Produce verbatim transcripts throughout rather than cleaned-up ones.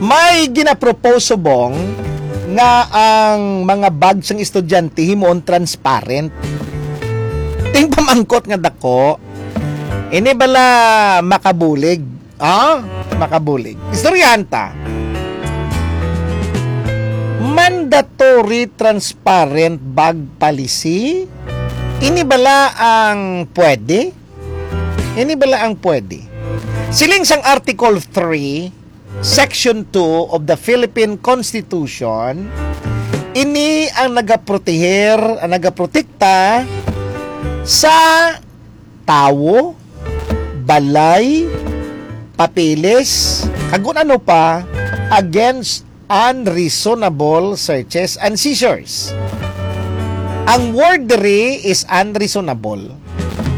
May ginapropose subong nga ang mga bag sang estudyante himuon transparent. Ting pamangkot nga dako, ini bala makabulig? Ah, makabulig. Istoryahan ta. Mandatory transparent bag policy? Ini bala ang pwede? Ini bala ang pwede? Siling sang Article three, Section two of the Philippine Constitution, ini ang nagaproteher, ang nagaprotekta sa tawo, balay, papeles, kag kun ano pa, against unreasonable searches and seizures. Ang word diri is unreasonable.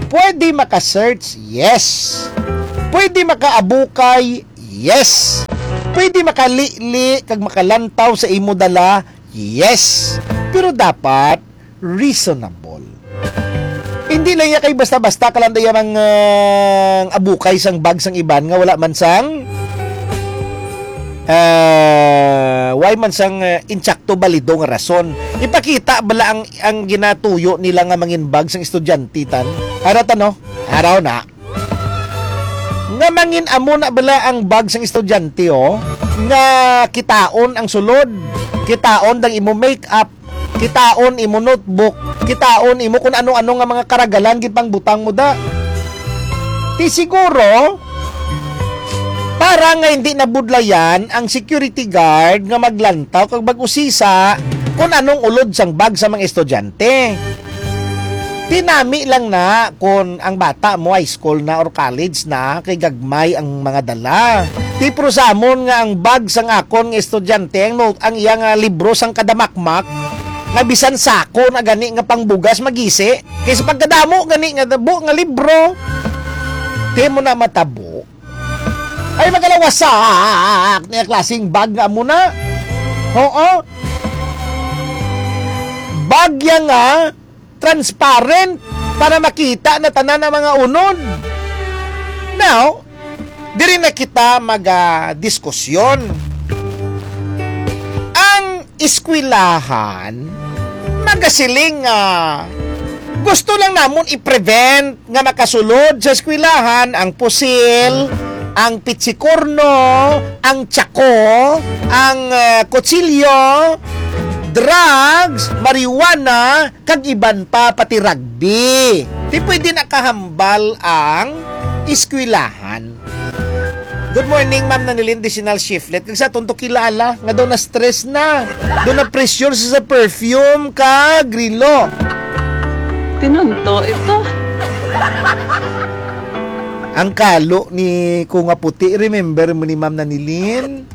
Pwede maka-search, yes. Pwede makaabukay, yes. Pwede makalili kag makalantaw sa imo dala, yes. Pero dapat reasonable. Hindi lang iya kay basta-basta ka lang daya mang, ah, abukay sang bag sang iban nga wala man sang, ah, way man sang, ah, insakto balido nga rason. Ipakita bala ang, ang ginatuyo nila nga mangin bag sang estudyante tan. Ara ta, no? Araw na. Nga mangin amo na bala ang bag sang estudyante, oh, nga kitaon ang sulod, kitaon dang imo make-up, kitaon imo notebook, kitaon imo kun ano-ano nga mga karagalan gipangbutang mo da. Ti siguro, para nga hindi nabudlayan ang security guard nga maglantaw kag mag-usisa kun anong ulod sang bag sa mga estudyante. Ti nami lang na kon ang bata mo high school na or college na, kay gagmay ang mga dala. Ti pero sa amon nga ang bag sang akon nga estudyante, ang note, ang iya nga libro sang kadamakmak, nga bisan sako na gani nga pangbugas magisi, kay sa pagkadamo gani nga dabo nga libro, ti mo na matabo. Ay, magalawasak niya klaseng bag nga amo na. Oo. Bagya nga transparent para makita na tanan ang mga unod. Now, diri na kita magadiskusyon. Ang eskwelahan, magasiling nga gusto lang namon i-prevent nga makasulod sa eskwelahan ang pusil, ang pitsikorno, ang tsako, ang, eh, kutsilyo, drugs, marijuana, kag iban pa, pati rugby. Di pwede nakahambal ang eskwelahan. Good morning, Ma'am Nanilin, Disinal Shiflet. Kag sa aton to kilala, nga daw na-stress na. Daw na-pressure sa, sa perfume kag relo. Tinunto ito. Ang kalo ni ko nga puti, remember mo ni Ma'am Nanilin?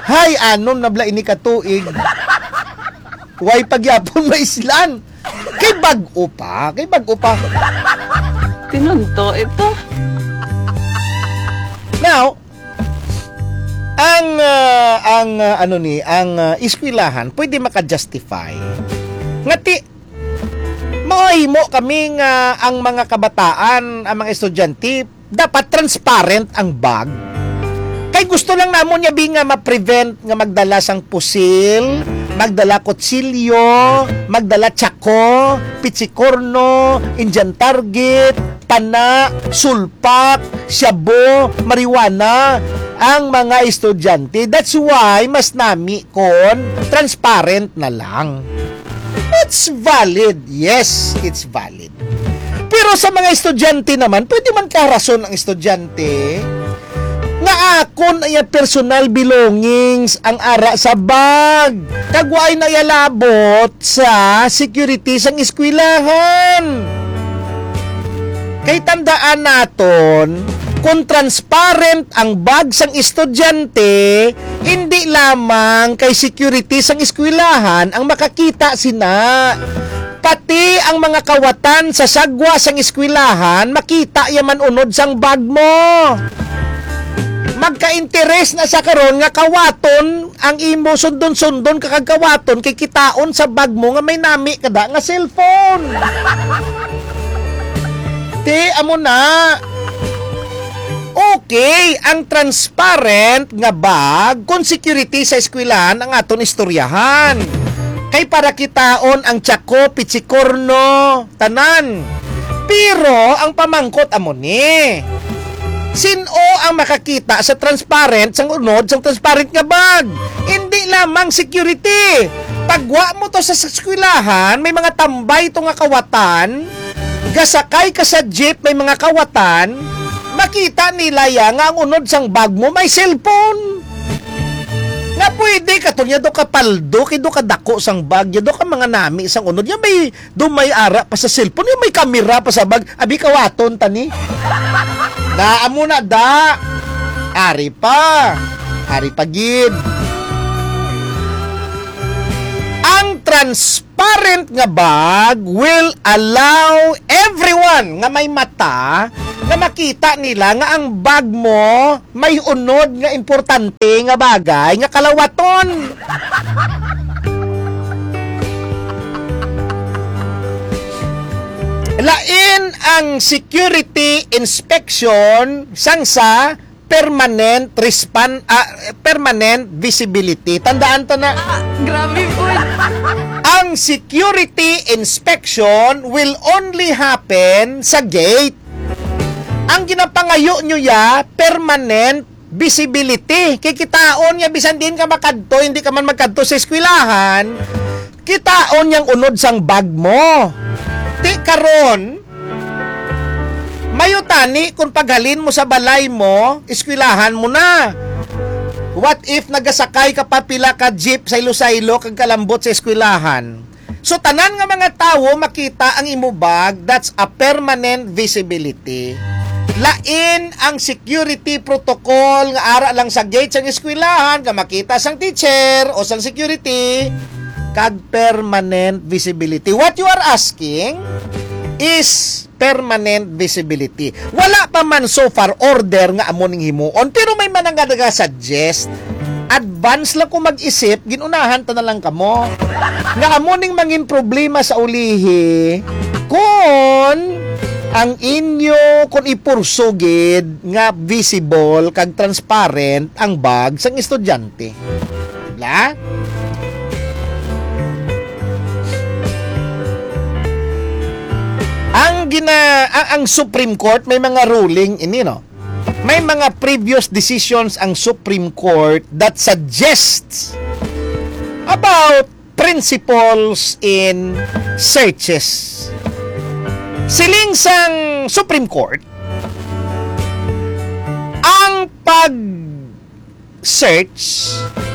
Hay, anom na bala ini ka tuig. Way pagyapon maislan. Kay bag-o pa, kay bag-o pa. Tinunto ito. Now, ang, ah, ang, ah, ano ni, ang, ah, eskwelahan pwede maka-justify nga ti-, mahimo kami nga ang mga kabataan, ang mga estudyante, dapat transparent ang bag. Kay gusto lang namon niya bi nga ma-prevent nga magdala sang pusil, magdala kutsilyo, magdala tsako, pitsikorno, Indian target, pana, sulpak, shabu, marijuana ang mga estudyante. That's why mas nami kon transparent na lang. It's valid. Yes, it's valid. Pero sa mga estudyante naman, pwede man kaharason ang estudyante nga akon ang iyang personal belongings ang ara sa bag. Kag waay na iya labot sa security sang eskwelahan. Kay tandaan naton, kung transparent ang bag sang estudyante, hindi lamang kay security sang eskwelahan ang makakita sina. Pati ang mga kawatan sa sagwa sang eskwelahan, makita ya man unod sang bag mo. Magka-interes na sa karon nga kawaton ang imo sundon-sundon ka kag kawaton kay kitaon sa bag mo nga may nami kada nga cellphone. Ti, amo na. Okay, ang transparent nga bag kon security sa eskwelahan ang aton istoryahan. Kay para kitaon ang tiyako, pitsikorno, tanan. Pero ang pamangkot amo ni, sin-o ang makakita sa transparent, sang unod sang transparent nga bag? Hindi lamang security. Pagwa mo to sa eskwelahan, may mga tambay to nga kawatan, gasakay ka sa jeep, may mga kawatan, makita nila ya nga ang unod sang bag mo may cellphone. Nga pwede ka to niya do ka paldo, kay do ka dako sang bag, ya do ka mga nami sang unod, ya may do may ara pa sa cellphone, ya may kamera pa sa bag, abi kawaton tani. Naa mo na da. Ari pa. Ari pa gid. Ang transparent nga bag will allow everyone nga may mata nga makita nila nga ang bag mo may unod nga importante nga bagay nga kalawaton. Lain ang security inspection sang sa permanent respan-, ah, permanent visibility. Tandaan ta na. Ah, grabe po. Ang security inspection will only happen sa gate. Ang ginapangayo nyo ya, permanent visibility. Kay kitaon niya, bisan diin ka makadto, hindi ka man magkadto sa eskwelahan, kitaon niyang unod sang bag mo. Ti karon, mayo tani kung paghalin mo sa balay mo, eskwelahan mo na. What if nagasakay ka pa pila ka jeep sa Iloilo kag kalambot sa eskwelahan? So, tanan nga mga tawo makita ang imo bag, that's a permanent visibility. Lain ang security protocol nga ara lang sa gate sang eskwelahan nga makita sang teacher o sang security, kag permanent visibility. What you are asking is permanent visibility. Wala pa man so far order nga amo ning himuon, pero may man nga nagasuggest. Advance lang ko mag-isip, ginunahan ta na lang kamo. Nga amo ning mangin problema sa ulihi, kung ang inyo, kung ipurso gid nga visible kag transparent ang bag sang estudyante. Bla? Ang gina-, ang, ang Supreme Court may mga ruling ini, no? May mga previous decisions ang Supreme Court that suggests about principles in searches. Siling sang Supreme Court, ang pag-search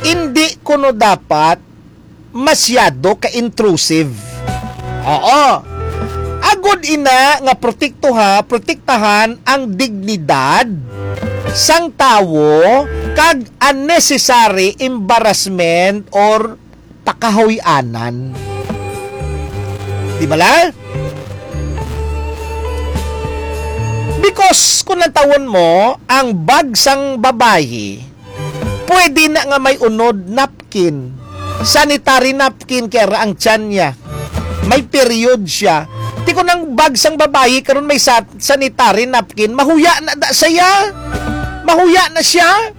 hindi kuno dapat masyado ka-intrusive. Oo. Agod ina nga protektuha, protektahan ang dignidad sang tawo kag unnecessary embarrassment or pakahuy-anan. Di bala? Because kung nantawon mo, ang bag sang babayi, pwede na nga may unod napkin. Sanitary napkin, kay ara ang tiyan niya. May period siya. Ti kung ang bag sang babayi karon may sa-, sanitary napkin, mahuya na da siya. Mahuya na siya.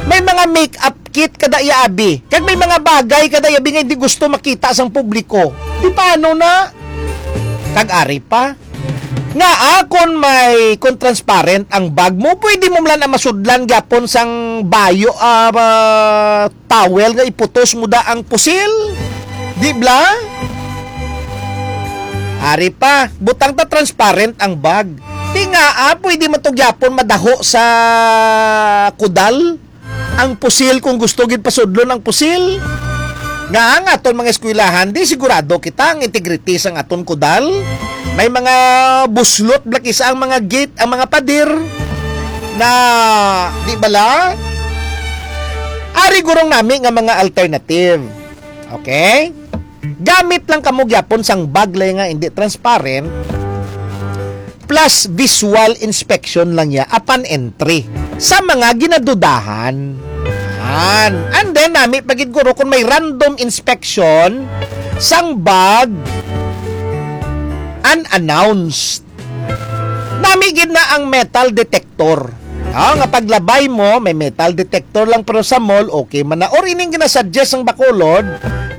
May mga make-up kit kada iya, abi. Kag may mga bagay kada iya, abi, nga hindi gusto makita sang publiko. Di paano na? Kag ari pa. Nga akon may, kung transparent ang bag mo, pwede mo man na masudlan gyapon sang bayo, ah, ah, towel nga iputos mo da ang pusil. Di bala? Ari pa, butang ta transparent ang bag. Ti nga, ah, pwede man to gyapon madaho sa kudal. Ang pusil, kung gusto gid pasudlon ang pusil, nga ang aton mga eskwelahan, di sigurado kita ang integrity sang aton kudal. May mga buslot, blakisa ang mga gate, ang mga pader, na, di bala? Ari gurong nami nga mga alternative. Okay? Gamit lang kamo gyapon sang baglay nga hindi transparent, plus visual inspection lang niya upon entry sa mga ginadudahan. Yan. And then, nami pa gid guro kung may random inspection sang bag unannounced. Nami gid na ang metal detector. Ah, nga paglabay mo, may metal detector lang, pero sa mall, okay man na. Or ining ginasuggest sang Bacolod,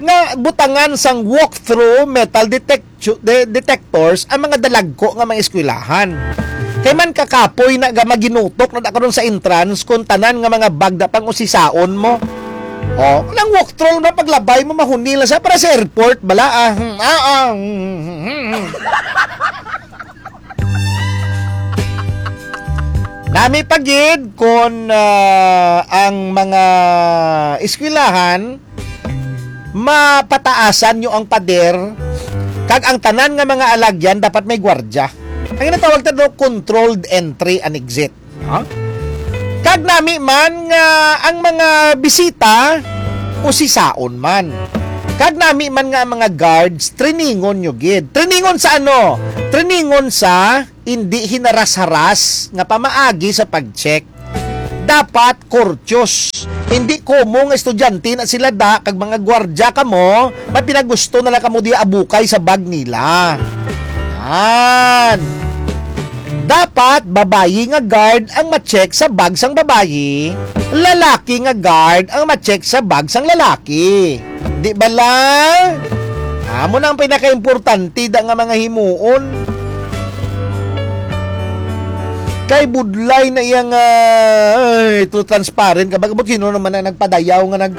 nga butangan sang walk-through metal detectu-, de-, detectors ang mga dalagko nga mga eskwelahan. Kay man kakapoy na ga maginutok na da karon sa entrance kung tanan nga mga bag da pang usisaon mo. Oh, nang walk-through na paglabay mo, mahuni lang sa para sa airport, bala, ah. Hmm, ah, ah, hmm, hmm, hmm, hmm. Nami pa gid kon, ah, ang mga eskwelahan, mapataasan nyo ang pader, kag ang tanan nga mga alagyan dapat may gwardya. Ang ginatawag ta do, controlled entry and exit. Ha? Kag nami man nga ang mga bisita usisaon man. Kag nami man nga ang mga guards, triningon nyo gid. Triningon sa ano? Triningon sa indi hinaras-haras nga pamaagi sa pag-check. Dapat courteous. Hindi komo nga estudyante na sila da, kag mga gwardya kamo, may pinagusto na lang kamo di abukay sa bag nila. Yan. Dapat babayi nga guard ang ma-check sa bag sang babayi, lalaki nga guard ang ma-check sa bag sang lalaki. Di bala? Amo na ang pinakaimportante da nga mga himuon. Kay budlay na iya nga, ay, too transparent ka. Baga, sino naman ang nagpadayaw nga nag-,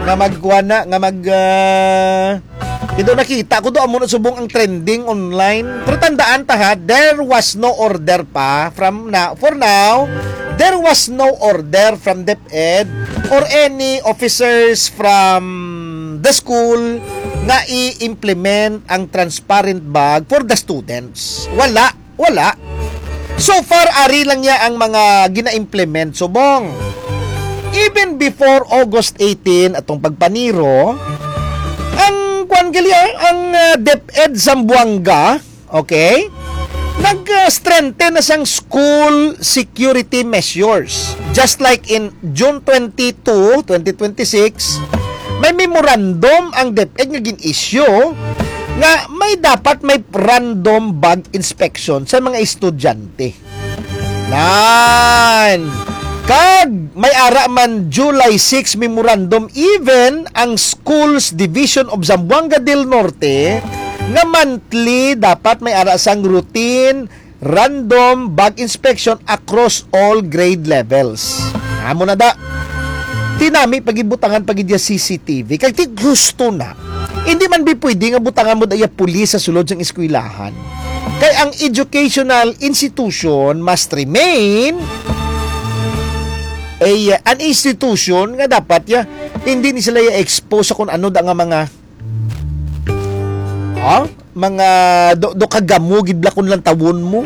nga magkuha na, nga mag, ah, Kay daw nakita ko daw, amo na subong ang trending online. Pero tandaan ta ha, there was no order pa from na, for now, there was no order from DepEd or any officers from the school nga i-implement ang transparent bag for the students. Wala. Wala. So far, ari lang niya ang mga gina-implement subong. Even before August eighteen, atong pagpaniro, ang kwan gali, ah, ang, ah, DepEd Zamboanga, okay? Nag, ah, strengthen na sang school security measures. Just like in June twenty-two, twenty twenty-six, may memorandum ang DepEd nga gin-issue nga may dapat may random bag inspection sa mga estudyante. Nan! Kag may ara man July six memorandum, even ang Schools Division of Zamboanga del Norte nga monthly dapat may ara sang routine random bag inspection across all grade levels. Amo na da. Tinami pagibutangan pagid ya C C T V. Kag ti gusto na. Hindi man bi pwede nga butangan mo da iya pulis sa sulod sang eskwelahan. Kay ang educational institution must remain a, an institution nga dapat ya hindi ni sila ya expose sa kung ano da nga mga, ha? Mga do, do kagamo gid lakon lang tawon mo.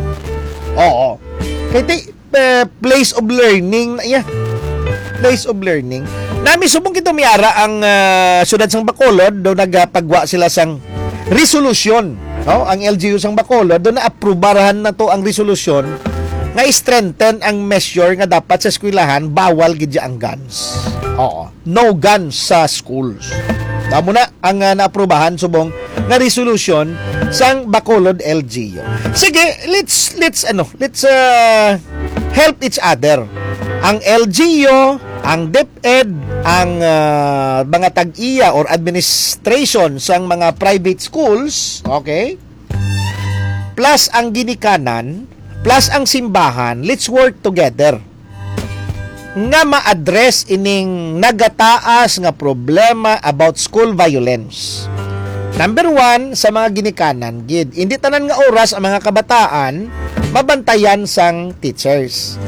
Oo. Kay ti, eh, place of learning na iya. Place of learning. Nami subong kito miara ang, ah, siyudad sang Bacolod, do nagapagwa sila sang resolusyon, no? Ang L G U sang Bacolod, do naaprubahan na to ang resolusyon nga i-strengthen ang measure nga dapat sa eskwelahan bawal gid ang guns. Oo. No guns sa schools. Amo na ang, ah, naaprubahan subong nga resolution sang Bacolod L G U. Sige, let's, let's, ano, let's, ah, help each other. Ang L G U, ang DepEd, ang, ah, mga tag-iya or administration sang mga private schools, okay? Plus ang ginikanan, plus ang simbahan, let's work together nga ma-address ining nagataas nga problema about school violence. Number one, sa mga ginikanan gid. Hindi tanan nga oras ang mga kabataan mabantayan sang teachers.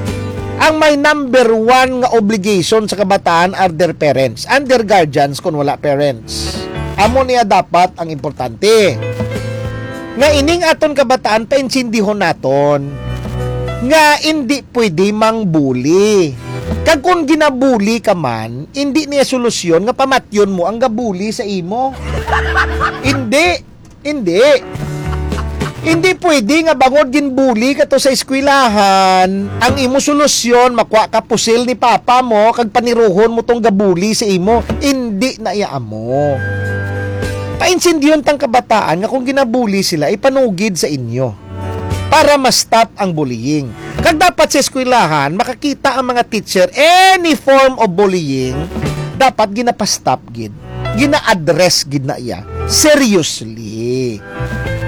Ang may number one nga obligation sa kabataan are their parents and their guardians kung wala parents. Amo niya dapat ang importante. Nga ining aton kabataan, paintsindihon naton nga indi pwede mangbuli. Kag kung ginabuli ka man, indi niya solusyon nga pamatyon mo ang gabuli sa imo. Indi. Indi. Indi pwede nga bangod ginbuli ka to sa eskwelahan, ang imo solusyon, makuha ka pusil ni papa mo, kag paniruhon mo tong gabuli sa imo. Indi na iya amo. Paintindiyon tang kabataan nga kung ginabuli sila, ipanugid sa inyo para ma-stop ang bullying. Kag dapat sa eskwelahan, makakita ang mga teacher, any form of bullying, dapat ginapastop gid, gina-address gid na iya seriously.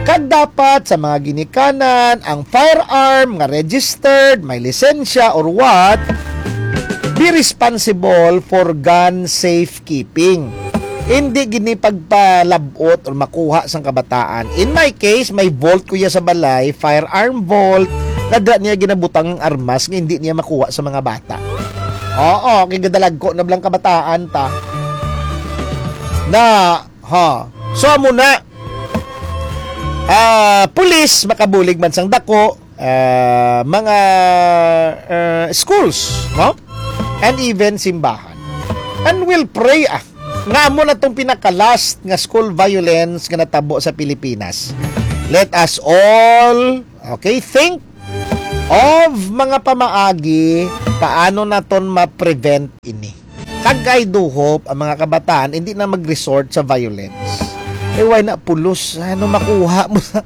Kag dapat sa mga ginikanan, ang firearm nga registered, may lisensya or what, be responsible for gun safekeeping. Hindi gini pagpalabot or makuha sang kabataan. In my case, may vault ko ya sa balay, firearm vault, nga da niya ginabutang ang armas nga hindi niya makuha sa mga bata. Oo, kay gadalagko na blang kabataan ta. Na, ha. So, amo na. Ah, pulis, makabulig man sang dako, ah, mga, ah, schools, no? And even simbahan. And we'll pray, ah, nga amo na tong pinaka-last nga school violence nga natabo sa Pilipinas. Let us all, okay, think of mga pamaagi paano naton ma-prevent ini. Kag I do hope ang mga kabataan hindi na mag-resort sa violence. Eh, why na pulos? Ano makuha mo sa...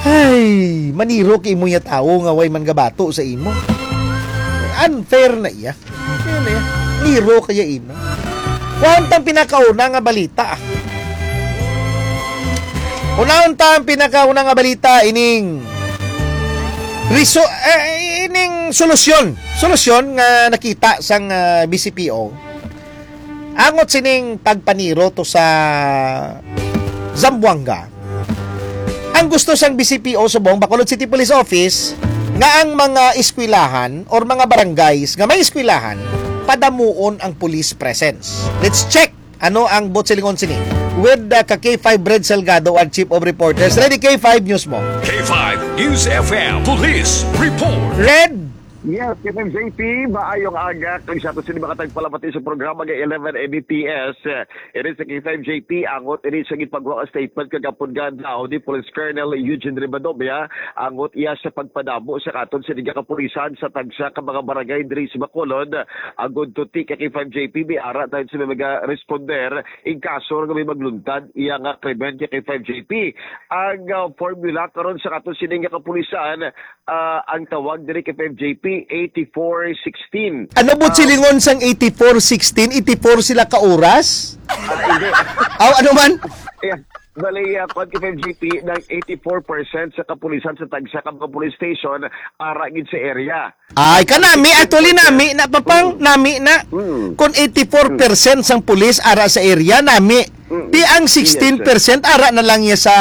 Ay, maniro kay imo ya tawo nga way man gabato sa imo. Unfair na iya. Yan eh. Niro kaya imo. Kuwan tang pinakauna nga balita. Unahon ta ang pinakauna nga balita ining reso-, eh, ining solusyon. Solusyon nga nakita sang, ah, B C P O. Angot sining pagpaniro to sa Zamboanga. Ang gusto sang B C P O subong Bacolod City Police Office nga ang mga eskwelahan or mga barangays nga may eskwelahan padamuon ang police presence. Let's check ano ang buot silingon sini with, uh, ka K five Red Salgado, ang Chief of Reporters. Ready, K five News mo. K five News F M Police Report. Red. Yes, K five J P, maayong aga. Kag sa ato sini makatagpalamati sa programa nga eleven A B P S. Ini sa K five J P, angot ini sa gipagwa nga statement kagapon nga adlaw ni Police Colonel Eugene Ribadobia, angot iya sa pagpadamo sa katon sini nga kapulisan sa tagsa ka mga barangay diri sa Bacolod. Agud to ti ka K five J P, may ara tayo sa mga responder in kaso nga may magluntad iya nga krimen ka K five J P. Ang, ah, formula karon sa katon sini nga kapulisan, ah, ang tawag diri ka K five J P, eighty-four sixteen. Ano buot silingon sang eighty-four sixteen? Eighty-four sila ka oras? Ah, hindi. Aw, ano man? Yeah. Bali, ah, kuwan ka K five J P, nang eighty-four percent sa kapulisan sa tagsa ka mga police station, ara gid sa area. Ay, kanami, actually, nami na, papang, nami na. Mm. Kung eighty-four percent sang pulis ara sa area, nami. Mm. Ti ang sixteen percent ara na lang niya sa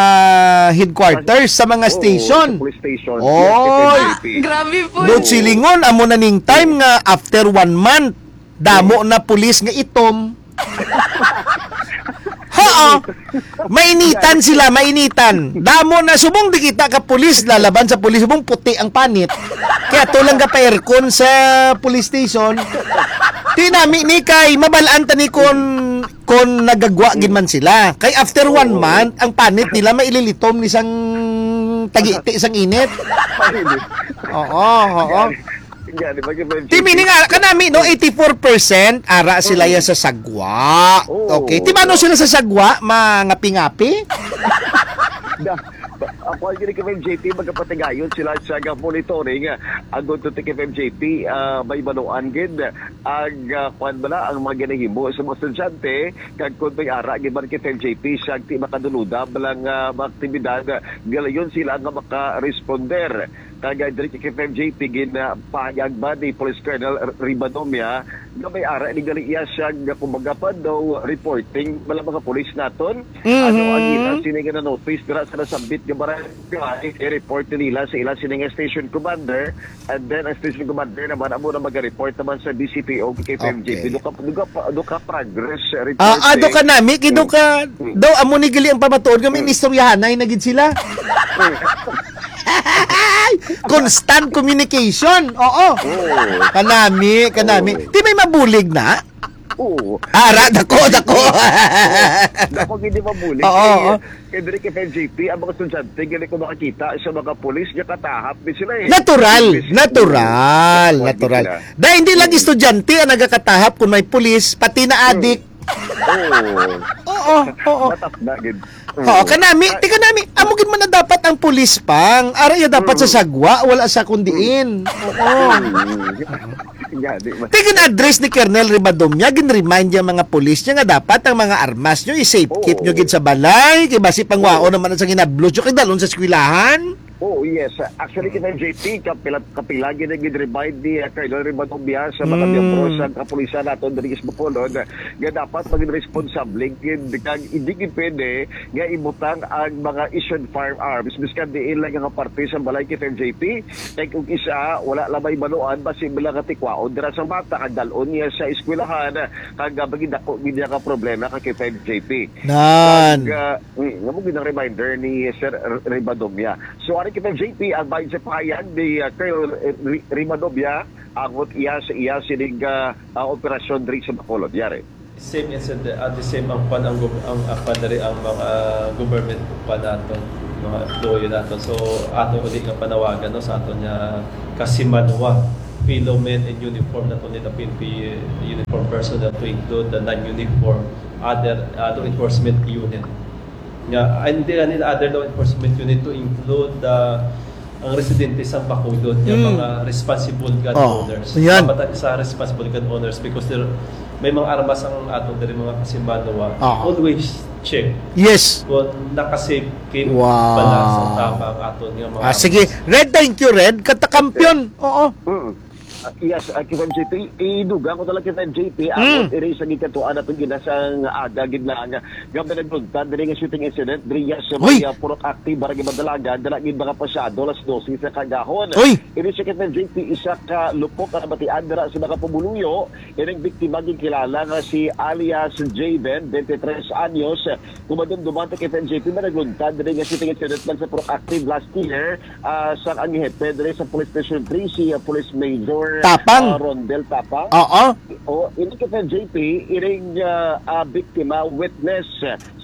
headquarters, sa mga Oo, station. Sa police station. Oy. Yes, sa P N P. Grabe po. Buot silingon, amo na ning time nga after one month, damo na pulis nga itom. Haa. Mainitan sila, mainitan. Damo na subong di kita ka pulis, lalaban sa pulis, subong puti ang panit. Kaya to lang gapa-aircon sa police station. Ti nami ni kay mabalaan ta ni kon, kon nagagwa gid man sila. Kay after one Oo. month, ang panit nila maililitom ni sang tagiti sang init. Panit. Oo, oo. Yan, di ba, K five J P? Ti meaning, ah, kanami, no, eighty-four percent ara sila Mm. ya sa sagwa. Oo. Okay. Ti mano sila sa sagwa? Mangapi-ngapi? Da, ako ang gini K five J P, magkapatigayon sila sa ga-, monitoring, ah, ang gunto ti K five J P, ah, may manuan gid ang, ah, kwan bala, ang mga ginahimo sa mga estudyante, kag kung may ara gid man K five J P sa ti makaduludab lang, ah, mga aktibidad, galayon sila nga maka-responder. Kag, ah, diri kay K five J P, ginapahayag ba ni Police Colonel R-, Ribadomia nga may ara ni gali iya siya nga, kumbaga, pa daw reporting bala mga pulis naton? Ano ang Mhm. ila sini nga na-notice dira sa nasambit nga barangay? I-report nila sa ila sini nga station commander, and then ang station commander naman amo na mag-report naman sa D C P O, K five J P. Okay. Duka, duka, duka progress report, Ah, ah, eh. duka nami, kay Mm. duka, Mm. daw amo ni gali ang pamatuod nga may Mm. inistoryahanay na gid sila. Mm. Constant communication. Oo. Oo. Kanami, kanami. Oo. Ti may mabulig na? Oo. Ara, dako, dako. Oo. Dako, hindi mabulig. Oo, Kay, oo. kay diri kay K five J P, ang mga estudyante, gali ko makakita sa mga pulis, nga katahap din sila eh. Natural, Imbis-, natural, oo, natural. sila. Dahil hindi lang Oo. estudyante ang nagakatahap kung may pulis, pati na Mm. adik, Oo. Oo, oo. Matas na gid. Oo, kanami, ti kanami, amo gid man na dapat ang pulis pang. Ara iya dapat sa sagwa, wala sa kundiin. Oo. Gani man. Ti gin-address ni Colonel Ribadomya, gin-remind niya mga pulis niya nga dapat ang mga armas niyo i-safe keep niyo gid sa balay, kay basi pangwaon naman sa ginablos niyo kay dalon sa eskwelahan. Oh, yes. Actually, kita J P, kapila, kapila gid ang gid-remind ni uh, Colonel Ribadomya sa mga miyembro sa kapulisan nato diri sa Bacolod nga dapat maging responsable gid kag hindi gid pwede nga ibutang ang mga issued firearms miskan diin lang nga parte sa balay kita J P. Kay kung isa, wala lang may baluan, basi lang nga tikwaon dira sa bata kag dalon niya sa eskwelahan kag uh, maging dako gid niya ka problema ka kita J P. Nan. Kag, uh, mm, nga mo gid ang reminder ni Sir R- Ribadomya. So, ari kita, J P, ang bahin sa pahayag ni uh, Colonel R- Rimadobia, angot iya sa iya sining uh, uh, operasyon diri sa Bacolod. Yari. Same incident, at the same ang pan ang, gov- ang, ang pan diri ang mga government pa nato, mga employee nato. So ato uli nga panawagan no sa ato niya kasimanwa, fellow men in uniform, not only the P N P uniform personnel, to include the non-uniform other uh, law enforcement unit. Nga, ay, hindi na nila other law enforcement unit to include the ang residente sa Bacolod, yung Mm. mga responsible gun Oh, owners. yan. Dapat sa responsible gun owners because there may mga armas ang aton diri mga kasimanwa. Ah. Always check Yes. kung naka-safe keep Wow. bala sa tama ang aton nga mga Ah, armas. sige. Red, thank you, Red. Katakampiyon. Oo. Mm. Uh, yes, uh, kita J P, idugang ko talaga kita J P, Mm. ang iri sa gikatuan natin ginasang aga gid lang nga may nagluntad diri nga shooting incident diri sa Uy! may uh, Purok Active, Barangay Madalagan, dala gid mga pasado alas dose sa kagahon. Uy! Ini siya kita J P, isa ka lupok nga nabatian dira sa mga pumuluyo. Ining biktima ginkilala nga si alias Javen, twenty-three anyos. Kumadumduman ta kita J P, may nagluntad diri nga shooting incident man sa Purok Active last year. Ah, sa ang hepe diri sa Police Station three, si ah, Police Major Tapang. ah, Rondel Tapang. Oo. O, ini kita J P, iring ah, ah, biktima, witness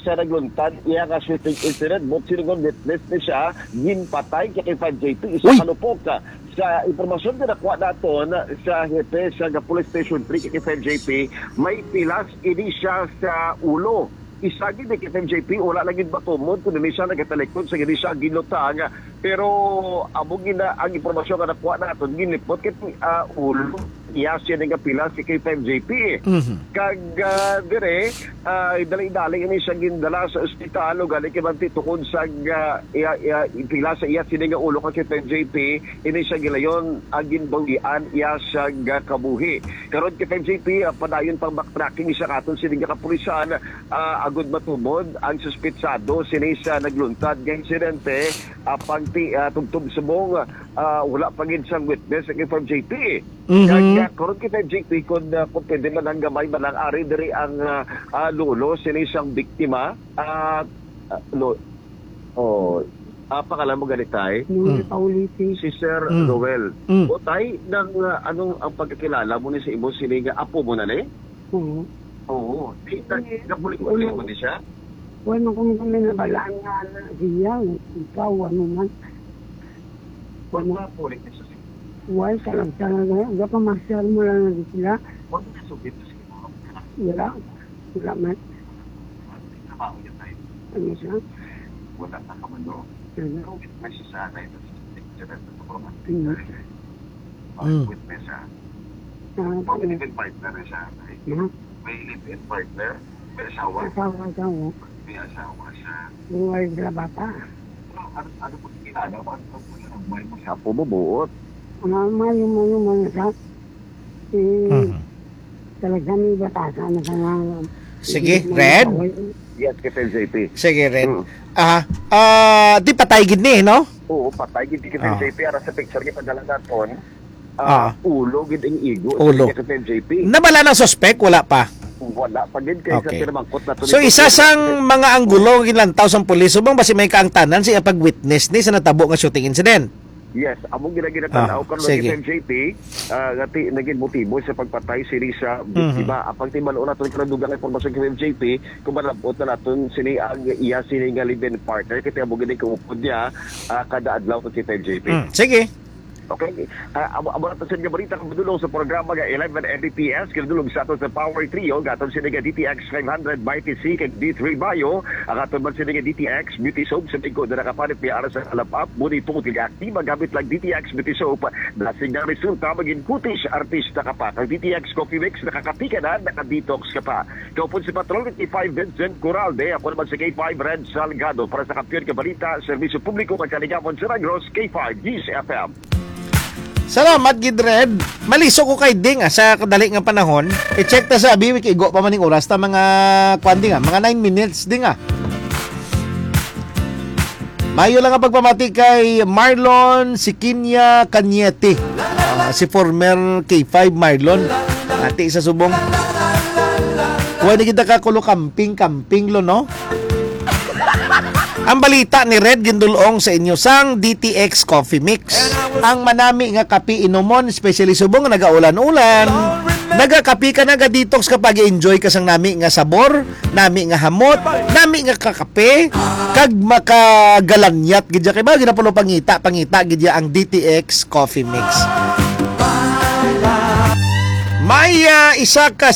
sa nagluntad iya nga shooting incident. But silingon witness ni siya, ginpatay kay five J P, isa Uy! ka lupok. Sa impormasyon nga nakuha naton sa hepe sa nga Police Station three kay five J P, may pilas ini siya sa ulo. Isa gid ni K F M J P, wala lang gid matumod kung hindi siya nagatalikod sa hindi siya ginutang. Pero amo gina ang impormasyon nga nakuha naton, ginlipot kay ah, ulo iya siya nga pila si K F M J P. Mhm. Kag ah, dire, ah, dali-dali ini siya gindala sa ospital, o gani kay manti tukod sa ah, iya, iya, pila sa iya sini nga ulo kay K F M J P, ini siya gilayon ang ginbawian iya siya nga kabuhi. Karon kay K F M J P, ah, padayon pang backtracking siya katon sini nga kapulisan, ah, agud matumod ang suspetsado sini sa nagluntad nga insidente, apang ti ah, tubtob subong ah, wala pa gid sang witness ang K F M J P. Mhm. Kaya karon kita J P kung, ah, kung pwede man ang gamay man ang ari diri ang ah, ah, lolo sini sang biktima. Ah, ah, lo, oh, ah, pangalan mo ganitay? Noel Mm. Paulisi. Si Sir Mm. Noel. Mm. O tay, nang ah, anong ang pagkakilala mo ni sa imo sini nga apo mo na ni? Oo. Oo. Di, na, Yes. napulit-pulit mo ni siya? Wala kung kami nabalaan nga anak siya, ikaw, ano man. Wala pulit ni sa Why, salag-salag na, gapamasyal mo lang na sila. Wala na sugit sa imo. Wala. Wala man. Trabaho niya tayo. Ano siya? Wala na ka man, no? Ano? May siya sa anay, tapos picture at sa mga Mm. Mm. witness siya. Ah, May ano? live-in partner na siya, anay. Ha? May live-in partner, may asawa, Asawa siya, oh. may asawa siya. Buhay sila bata. Ano, ano po kinala mo? Ano po kinala mo? May mga apo mo buot. Ah, mayo, mayo, mayo siya. Eh, Mhm. talaga may batasan na sa mga Sige, Red? Yes, K F M J P. Sige, Red. Mm. Aha. Ah, di patay gid ni, no? Oo, patay gid K F M J P. Ara sa picture nga padala naton. Ah. Ah, ulo gid ang igo Ulo. sa K F M J P. Nabala ng suspect, wala pa. Wala pa gid kay Okay. sa pinamangkot nato So, ni isa Presidente. sang mga anggulo nga ginlantaw sang pulis, subong ba si may kaangtanan siya pag-witness ni sa natabo nga shooting incident? Yes, among ginaginatanaw Ah, karon sige. K F M J P, ah, nga ti naging motibo sa pagpatay sini sa biktima. Mhm. Apang timbal-on naton karon dugang nga impormasyon K F M J P, kung malabot na naton sini ang iya sini nga live-in partner, kay amo gid kaupod niya ah, kada adlaw kay K F M J P. Mm, sige. Okay? Ah, amo, amo na to sa inyo balita nga madulong sa programa nga eleven N D T S, kinadulong sa ato sa Power Trio, nga aton sini nga D T X five hundred Mighty C kag D three Bio, ang aton man sini nga D T X Beauty Soap, sa tingko na nakapanit ni ara sa kalap-ap, muni tungod kag aktiba gamit lang D T X Beauty Soap, na signal resulta, maging kutis, artista ka pa. Kag D T X Coffee Mix, nakakapi ka na, naka-detox ka pa. Kaupod si Patrol K five Vincent Coralde, ako naman si K five Red Salgado para sa Kampiyon ka Balita, Serbisyo Publiko kag Kalingawan sa Negros, K five News F M. Salamat gid, Red. Maliso ko kay Ding, ah, sa kadali nga panahon. I-check ta sa abi, kay igo pa man ning oras ta, mga kwan, Ding, ah, mga nine minutes, Ding, ah. Mayo lang ang pagpamati kay Marlon Sikinya Cañete. Ah, si former K five Marlon. Ati sa subong. Kuha na kita ka kulo kamping-kamping lo, no? Ang balita ni Red gindulong sa inyo sang D T X Coffee Mix. Ang manami nga kape inumon, especially subong nga nagaulan-ulan. Nagakape ka, naga-detox ka, pag-enjoy ka sang nami nga sabor, nami nga hamot, nami nga kakape, kag makagalanyat gid ya. Kay ba, ginapulo pangita, pangita gid ya ang D T X Coffee Mix. May, ah, isa ka